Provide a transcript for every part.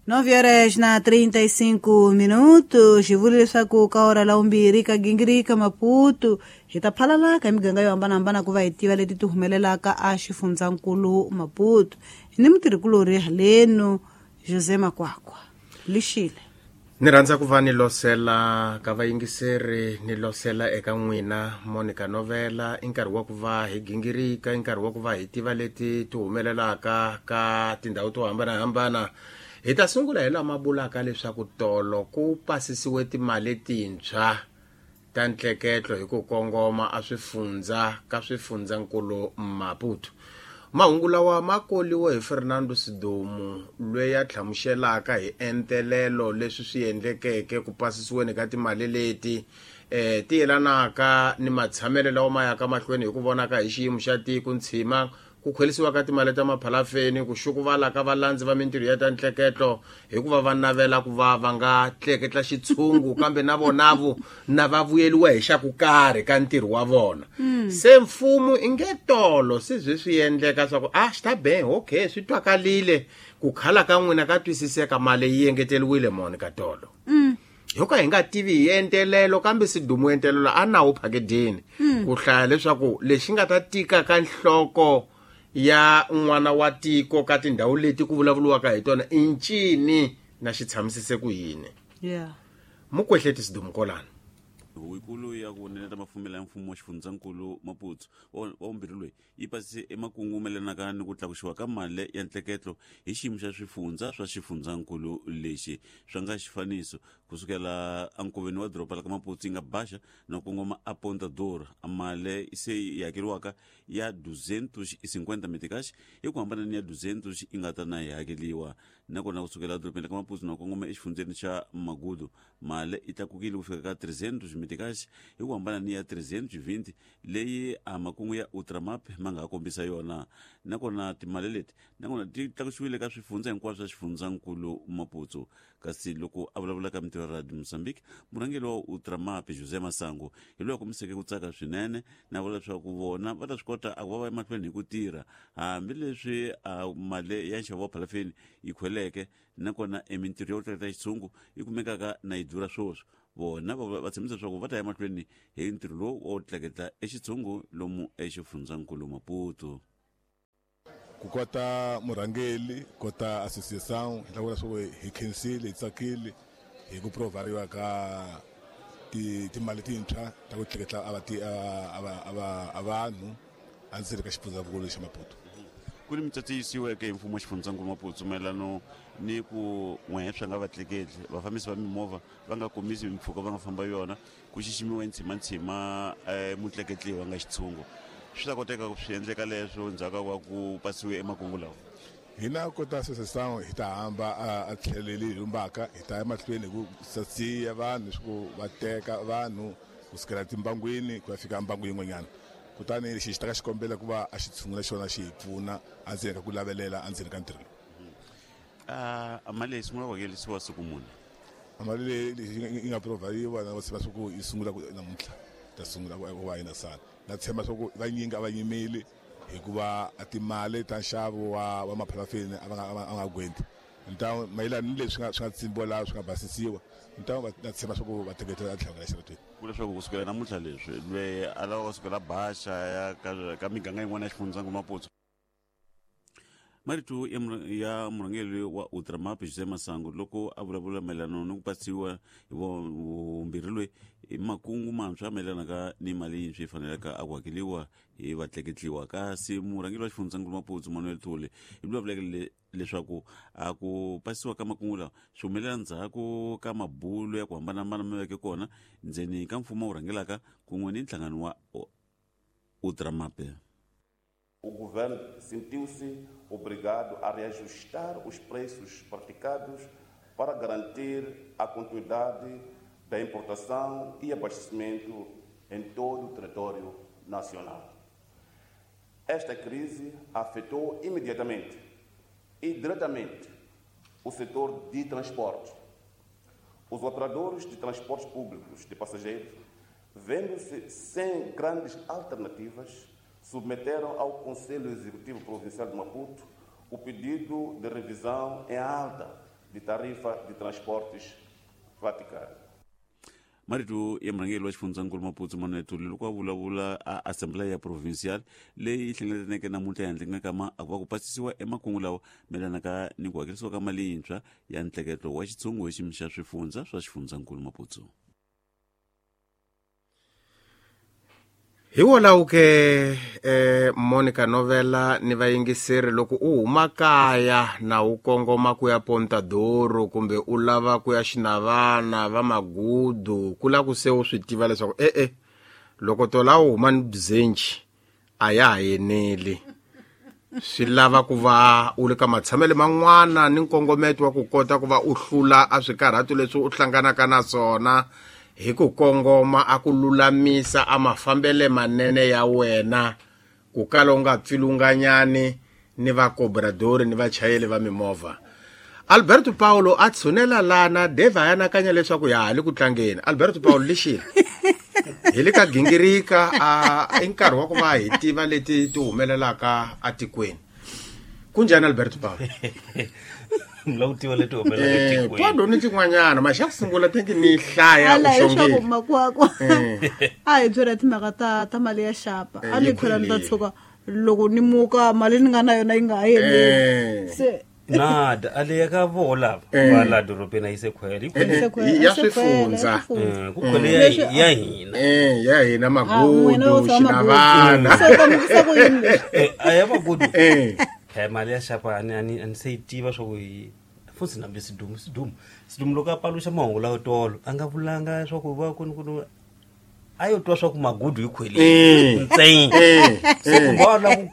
9 horas na 35 minutos xi vula leswaku ka ora la vumbirhi ka gingirika Maputo hi ta phalalaka hi miganga yo hambanahambana ku va hi tiva leti ti humelelaka a xifundzankulu Maputo. Hi ni mutirhikulorhi haleno José Makwakwa lixile. Ni rhandza ku va ni losela ka vayingiseri, ni losela eka n'wina Monica Novela. I nkarhi wa ku va hi gingirika, i nkarhi wa ku va hi tiva leti ti humelelaka ka tindhawu to hambanahambana. Hi ta sungula hi lama vulaka leswaku tolo ku pasisiwe timali tintshwa ta ntleketlo hi ku kongoma a swifundza ka swifundzankulu Maputo. Mahungu lawa ma koliwe hi Fernando Sidomu, loyi a hlamuselaka hi entelelo leswi swi endlekeke ku pasisiweni ka timali leti ti yelanaka ni matshamelo lawa ma yaka mahlweni hi ku vonaka hi xiyimo xa tiko, ntshima ku khwelisiwa ka timali ta maphalafeni, ku xukuvala ka valandzi va mintirho ya ta ntleketlo hikuva va navela ku va va nga tleketla xitshungu kambe na vonavo na va vuyeliwa hi xa ku karhi ka ntirho wa vona. Se mfumo i nge tolo se byi swi endleka swa ku a xi ta be okay, swi twakalile ku khala ka n'wina ka twisiseka, mali yi engeteriwile moni ka tolo. Ho ka hi nga tivi hi entelelo kambe Sidumo entelelo a nawu phakejeni ku hlaya leswaku lexi nga ta tika ka nhloko ya n'wana wa tiko ka tindhawu leti ku vulavuriwaka hi tona i ncini na xi tshamisise ku yini. Mukwehleti Sidumo kolana. Huvo ya ku neneta mafumelo ya mfumo wa xifundzankulu Maputo wa vumbirhi loyi yi pasise emakungu mayelanaka ni ku tlakusiwa ka mali ya ntleketlo hi xiyimo xa swifundza swa xifundzankulu lexi swa nga xifaniso kusukela enkoveni wa doroba la ka Maputo yi nga Baxa na kongoma a Ponta Dora, mali se yi hakeriwaka ya 250 meticais hi ku hambana ni ya 200 yi nga ta na yi hakeriwa. Nakona kusukela edorobeni la ka Maputo na kongoma exifundzeni xa Magudu, mali yi tlakukile ku fika ka 300 meticais hi ku hambana ni ya 320 leyi a makungu ya Ultramap ma nga ha kombisa yona. Nakona timali leti nakona ti tlakusiwile ka swifundza hinkwaswo swa xifundzankulu Maputo. Kasi loko a vulavula ka mintirho ya Radio Mozambique, murhangeri wa Ultramap José Masango hi loyi a kombiseke ku tsaka swinene na vula leswaku vona va ta swi kota a ku va va emahlweni hi ku tirha hambileswi a mali ya nxavo wa phalafeni yi khweleke, nakona emintirho ya ku tleketla xitshungu yi kumekaka na yi durha sweswi. Vona va tshembisa leswaku va ta ya mahlweni hi ntirho lowu wa ku tleketla exitshungu lomu exifundzankulu Maputo. Ku kota murhangeri, kota association, hi ta vula leswaku hi khensile, hi tsakile hi ku provhariwa ka timali tintshwa ta ku tleketla a vanhu endzeni ka xifundzankulu xa Maputo. Ku ni mitsotso yi yisiweke hi mfumo wa xifundzankulu Maputo mayelano ni ku n'wehe swa nga vatleketli, vafambisi va mimovha va nga komisi mimpfhuka va nga famba yona, ku xiximiwa ntshimantshima mutleketli wa nga xitshungu. Swi ta koteka ku swi endleka leswo ndzhaku ka ku pasiwe emakungu lawa? Hina kota association hi ta hamba a tlheleli hi lumbaka, hi ta ya mahlweni hi ku sasiya vanhu leswaku va teka vanhu kusukela timbangwini ku ya fika mbangu yin'wanyana. Kutani lexi xi ta ka xikombela ku va a xi tshungula xona xi hi pfuna endzeni ka ku lavelela endzeni ka ntirho lowu. A mali leyi sungula ku hakelisiwa siku muni? A mali leyi yi nga provhariwa na va swa ku yi sungula ku namuntlha ta sungula ku va yi na sala. Na tshemba swa ku vanyingi a va yimeli hikuva a timali ta nxavo wa maphalafeni a va nga, a nga gwenti. Ntawu mayelana ni leswi swi nga tsimbiwa laha swi nga basisiwa, ntawu na tshemba swa ku va teketela a tlhelo ka xaratweni. Ku leswaku kusukela namuntlha leswi loyi a lava kusukela Baxa ya ka miganga yin'wana ya xifundzankulu Maputo. Marito ya murhangeri wa Ultramap José Masango loko a vulavula mayelana ni ku pasiwa hi vumbirhi loyi hi makungu mantshwa mayelanaka ni mali yintshwa yi fanelaka a ku hakeriwa hi vatleketliwa. Kasi murhangeri wa xifundzankulu Maputo Manuel Thole hi vulavuleke leswaku a ku pasiwa ka makungu lawa swi humelela ndzhaku ka mabulo ya ku hambanahambana ma veke kona ndzeni ka mfumo wu rhangelaka kun'we ni nhlangano wa Ultramap. O governo sentiu-se obrigado a reajustar os preços praticados para garantir a continuidade da importação e abastecimento em todo o território nacional. Esta crise afetou imediatamente e diretamente o setor de transporte. Os operadores de transportes públicos de passageiros, vendo-se sem grandes alternativas, submeteram ao Conselho Executivo Provincial de Maputo o pedido de revisão em alta de tarifa de transportes praticada. Marito ya murhangeri wa xifundzankulu Maputo Manuel Thuli loko a vulavula a Assembleia Provincial leyi hlengeletaneke namuntlha ehandle ka ma va ku pasisiwa emakungu lawa mayelanaka ni ku hakerisiwa ka mali yintshwa ya ntleketlo wa xitshungu hi xiyimo xa swifundza swa xifundzankulu Maputo. Hi wolawo ke Monica Novela ni vayingiseri loko u huma kaya na u kongoma ku ya Pontadoro kumbe u lava ku ya Xinavana va Magudu ku la ku se u swi tiva leswaku loko tola u huma ni bzenji a ya ha yeneli swi lava ku va u le ka matshamelo man'wana ni nkongometo wa ku kota ku va u hlula a swikarhato leswi u hlanganaka na swona hi ku kongoma a ku lulamisa a mafambele manene ya wena ku kala u nga pfilunganyani ni vakobradori ni vachayeri va mimovha. Alberto Paulo a tshunela lana Dave a anakanya leswaku ya ha le ku tlangeni. Alberto Paulo lexi hi le ka gingirika a i nkarhi wa ku va hi tiva leti ti humelelaka atikweni. Kunjhani Alberto Paulo? Mla leti humelelaka etikweni. Twado ni tin'wanyana ma xa ku sungula tingi ni hlaya u xongile. Makwakwa. A hi byela timhaka ta mali ya xapa. A ni phela ni ta tshuka loko ni muka mali ni nga na yona yi nga ha yeneli. Se nada ale ka vola va la dorobeni a yi se khwela ya swifundza ku khwele ya hina ya hina Magudu Xinavana a ya Magudu mali ya xapa ani se yi tiva swa ku futhi nambe sidumu loko a paluxa mahungu lawo tolo a nga vulanga swa ku va ku a yo twa swa ku Magudu yi khwelile ntsena se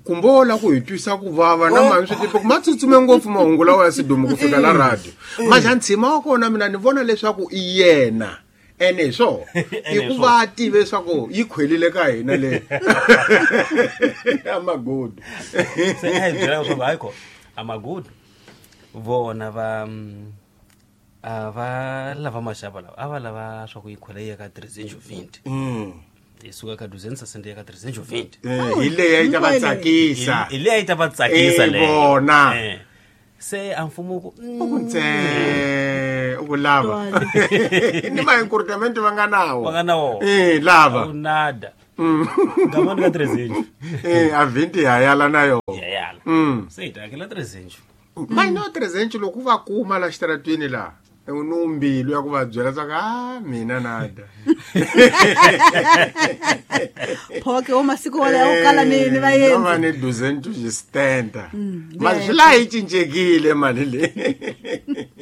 kumbe wo la ku hi twisa ku vava na mani swi tiva ku ma tsutsume ngopfu mahungu lawa ya Sidumu ku fika la radio. Maxa ntshima wa kona mina ni vona leswaku i yena ene hi swona i ku va tive leswaku yi khwelile ka hina le a Magudu. Se a hi byela leswaku hayi ko a Magudu vona va a va lava maxava lawa a va lava swa ku yi khwela yi ya ka 320. Hi suka ka 260 ya ka 320. Hi leyi yi ta va tsakisa. Hi leyi yi ta va tsakisa leyo. Vona. Se a mfumo ku u ntse u ku lava. Ni ma encouragement va nga nawo. Va nga nawo. Lava. U nada. Ngamani ka 300. A 20 ya yala na yo. Ya yala. Se hi ta hakela 300. Mai no 300 loko va kuma la xitaratweni la. Numbilu ya ku va byela swa ka mina nada. Phoke o masiku wala ya kala ni va yendzi. Va ni 260. Manje la yi cincekile mali le.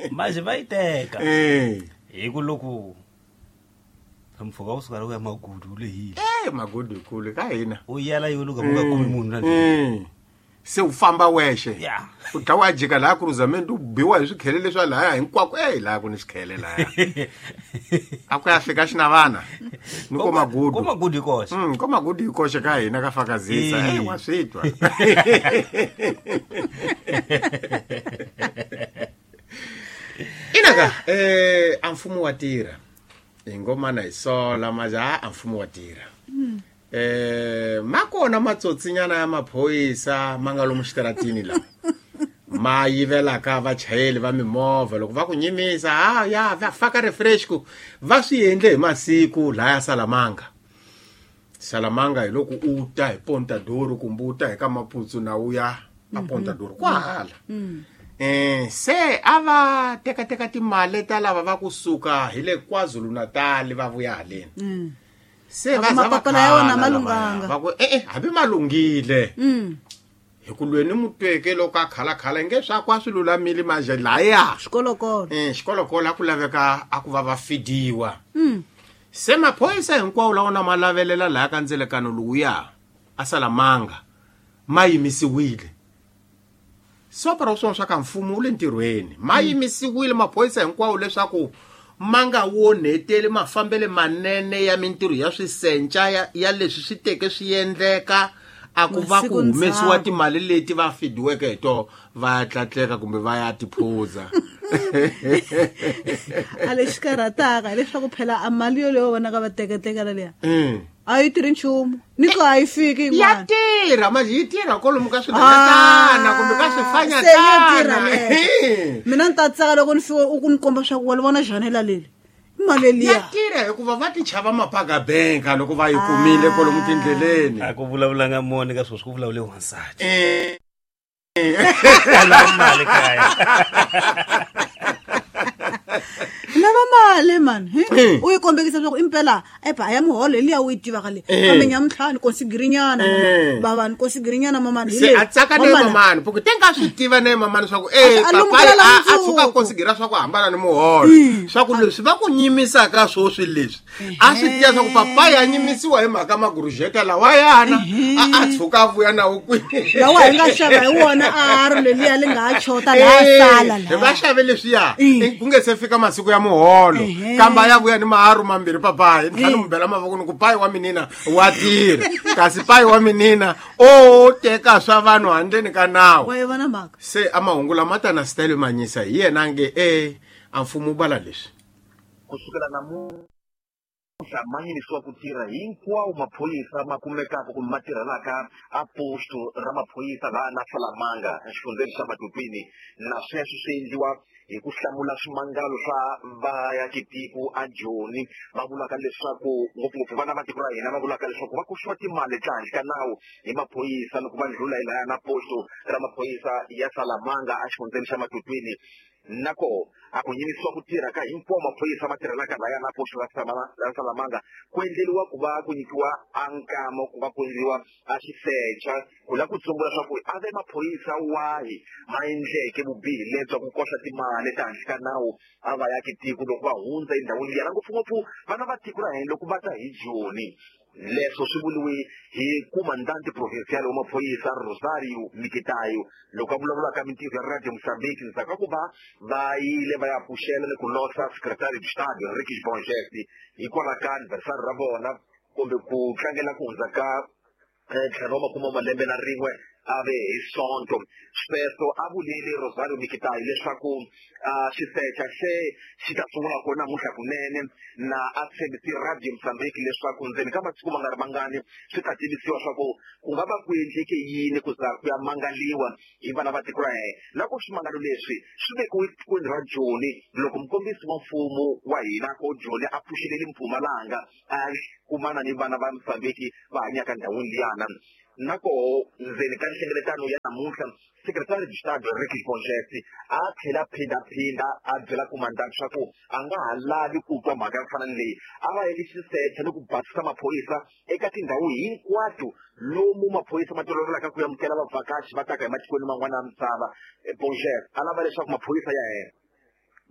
Manje va yi teka. Hi ku loko mpfhuka wu suka ya Magudu u lehile. Magudu ikulu ka hina. U yala yo loko nga kumi munhu na. Se u famba wexe. U dlawa a jika laha Cruzamento u biwa hi swikhele leswi lahaya hinkwako laha ku ni swikhele lahaya. A ku ya fika Xinavana ni ko Magudu. Ko Magudu hi koxe. Ko Magudu hi koxe ka hina ka fakazisa. Wa swi twa. Inaka a mfumo wa tirha. Hi ngomana hi sola maja a mfumo wa tirha. Makona matsotsinyana ya maphorisa ma nga lomu xitaratini la ma yivelaka vachayeri va mimovha loko va ku nyimisa ya va faka refresh ku va swi endle hi masiku laya Salamanga. Salamanga hi loko u ta hi Pontadoro kumbe u ta hi ka Maputsu na u ya a Pontadoro kwahala. Se a va teka timali ta lava va kusuka hi le KwaZulu-Natal va vuya haleni. Se va mapapala ya wona malunganga. Va ku hambi malunghile. Hi ku lweni mutweke loko a khalakhala nge swa kwa swi lulamile manje laya. Xikolokolo. Xikolokolo a ku laveka a ku va va fidiwa. Se maphorisa hinkwawo lawa na ma lavelela laya ka ndzelekano lowuya a Salamanga ma yimisiwile. Sopra swo swa ka mfumo wu le ntirhweni. Ma yimisiwile maphorisa hinkwawo leswaku ma nga wonheteli mafambele manene ya mintirho ya swisenca ya leswi swi teke swi endleka a ku va ku humesiwa timali leti va fidiweke hi to va ya tlatleka kumbe va ya tiphuza. A lexi karhataka hileswaku phela a mali yoleyo vonaka va tekatekela liya a yi tirhi nchumu ni ku a yi fiki Ya yin'wana. Tirha manje, yi tirha kwalomu ka swinhwanyatana kumbe ka Se ya tirha swifanyatana. leyo. Mina ni ta tsaka loko ni fika u ku ni komba swa ku wa li vona janela leli i mali Ya liya. Tirha hikuva va ti chava mapaka-benka loko va yi kumile kwalomu tindleleni. A ku vulavulanga moni ka sweswi, ku vulavule wansati. A lava mali kaya. Lava mali mani hi? U yi kombekisa leswaku impela epa a ya muholo hi liya u yi tivaka leyi, kambe nyamuntlha ni konsigirinyana bava ni konsigirinyana mamani hi Se leyi. a tsaka ne Mamani, mamani puku te nga swi tiva ne mamani swa ku A e a papayi lumukela a mundzuku. tshuka a konsigera swa ku hambana ni muholo, swa ku leswi va ku nyimisaka swoswi leswi a swi tiva swa ku papayi a nyimisiwa hi mhaka magurujeta lawayana a tshuka a vuya nawo kwini. Lawa hi nga xava hi wona a ri leliya li nga ha chota laha sala hi va laha. xave leswiya ku nge se fika masiku ya muholo, kambe a ya vuya ni maharu mambirhi papayi ni tlhela ni mu bela mavoko ni ku payi wa minina wa tirha, kasi payi wa minina o teka swa vanhu handleni ka nawu. Wa yi vona mhaka. Se a mahungu lama ta na style manyisa hi yena a nge e a mfumo wu vala leswi. Kusukela namuntlha ma yimisiwa ku tirha hinkwawo maphorisa ma kumekaka kumbe ma tirhelaka a posto ra maphorisa laha na Salamanga exifundzeni xa Matopeni, na sweswo swi endliwa hi ku hlamula swimangalo swa vaakitiko a Joni va vulaka leswaku ngopfungopfu vana va tiko ra hina va vulaka leswaku va koxiwa timali ta handle ka nawu hi maphorisa loko va ndlhula hi lahaya na posto ra maphorisa ya Salamanga exifundzeni xa Matopeni. Na koho a ku yimisiwa ku tirha ka hinkwawo maphorisa ma tirhelaka lahaya na posto ra Salamanga ku endleriwa ku va ku nyikiwa a nkama ku va ku endliwa a xisecha ku lava ku tsumbula swa ku a ve maphorisa wahi ma endleke vubihi lebya ku koxa timali ta handle ka nawu a va yaki tiko loko va hundza endhawini liya, na ngopfungopfu vana va tiko ra hina loko va ta hi Joni. Leswo swi vuriwe hi comandante provincial wa maphorisa Rosario Mikitayo loko a vulavulaka mintirho ya Radio Mozambique ndzhaku ka ku va va yile va ya pfuxela ni ku losa secretary de Estado Henriques Bongesti hikwalaho ka anniversary ra vona kumbe ku tlangela ku hundza ka ntlhanu wa makume malembe na rin'we a ve hi Sonto. Sweswo a vulile Rosario Mikitayo leswaku xisecha xe xi ta sungula kona namuntlha kunene, na a tshembisi Radio Mozambique leswaku ndzeni ka masiku ma nga ri mangani swi ta tivisiwa swa ku ku nga va ku endleke yini ku za ku ya mangaliwa hi vana va tiko ra hina. Na ku swimangalo leswi swi vekiwe etikweni ra Joni loko mukombisi wa mfumo wa hina ko Joni a pfuxelele Mpumalanga a kumana ni vana va Mozambique va hanyaka ndhawini liyana. Na koho ndzeni ka nhlengeletano ya namuntlha secretary de Estado Henriques Bongesti a tlhela phindaphinda a byela comandante swa ku a nga ha lavi ku twa mhaka ya ku fana ni leyi, a va endli xisecha ni ku basisa maphorisa eka tindhawu hinkwato lomu maphorisa ma tolovelaka ku amukela vavhakachi va taka hi matikweni man'wana ya misava. Bongesti a lava leswaku maphorisa ya yena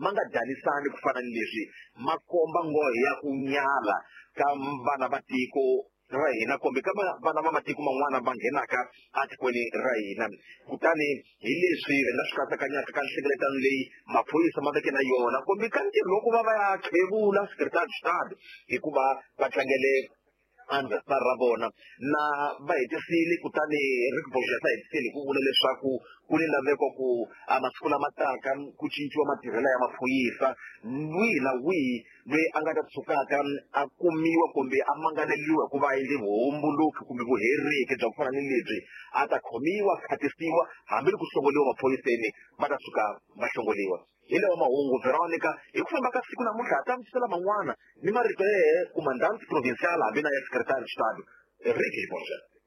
ma nga danisani ku fana ni leswi ma komba nghohe ya ku nyala ka vana va tiko ra hina kumbe ka vana va matiko man'wana va nghenaka etikweni ra hina. Kutani hi leswi hi nga swi katsakanyaka ka nhlengeletano leyi maphorisa ma veke na yona kumbe ka ntirho loko va va ya khevula secretary de Estado hikuva va tlangele anniversary ra vona na va hetisile. Kutani Rick Borges a hetisile hi ku vula leswaku ku ni laveko ku a masiku lama taka ku cinciwa matirhelo ya maphorisa, wihi na wihi loyi a nga ta tshukaka a kumiwa kumbe a mangaleriwa ku va endle vuhomboloki kumbe vuheriki bya ku fana ni lebyi a ta khomiwa, khatisiwa hambi loko hlongoliwa maphoriseni va ta tshuka va hlongoliwa. Hi lawa mahungu Veronica, hi ku famba ka siku namuntlha ha ta misela man'wana ni marito yehe comandante provincial hambi na ya secretary de Estado Henriques Borges.